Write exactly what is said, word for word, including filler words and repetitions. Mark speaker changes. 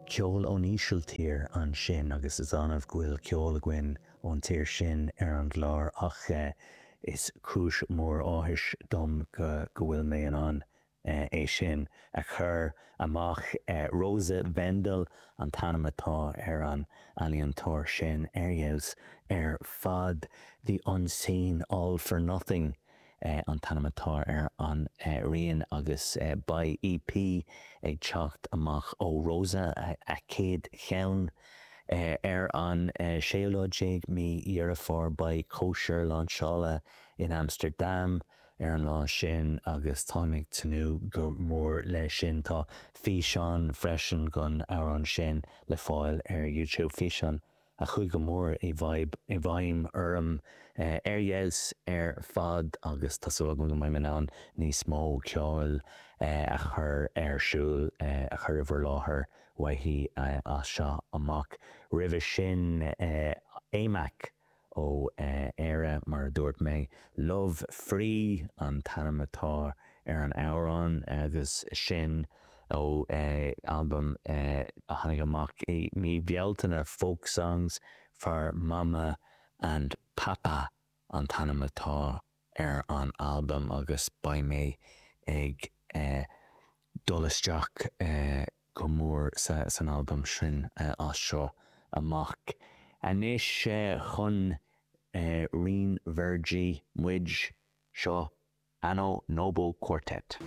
Speaker 1: Ceol ón Ísiltír ansin agus is annamh go bhfuil ceol againn ón tír sin ar an gclár ach is cúis mór áthais dom go go bhfuil mé in ann é sin a chur amach Rosa Wendel an t-ainm atá ar an ealaíontóir sin ar fheabhas ar fad The Unseen All for Nothing an t-ainm atá ar an rian agus beidh EP ag teacht amach ó Rosa a céad cheann ar an séú lá déag mí Dheireadh Fómhair beidh cóisir lainseála in Amsterdam ar an lá sin agus táim ag tnúth go mór leis sin tá físeán freisin den amhrán sin le fáil ar YouTube físeán a chuaigh go mór i i bhfeidhm orm ar fheabhas ar fad agus tá súil agam go mbeidh mé in ann níos mó ceoil a chur ar siúl a chur i bhur láthair uaithi as seo amach. Roimhe sin Aimeac ó Éire mar a dúirt mé, Love Free an t-ainm atá ar an amhrán agus sin ó albam a tháinig amach i mí Bealtaine folk songs for Mama and Papa an t-ainm atá ar an albam agus beidh mé ag dul isteach go mór san albam sin as seo amach. Anois chun Rinn Verdi muid seo Anno Nobo Quartet.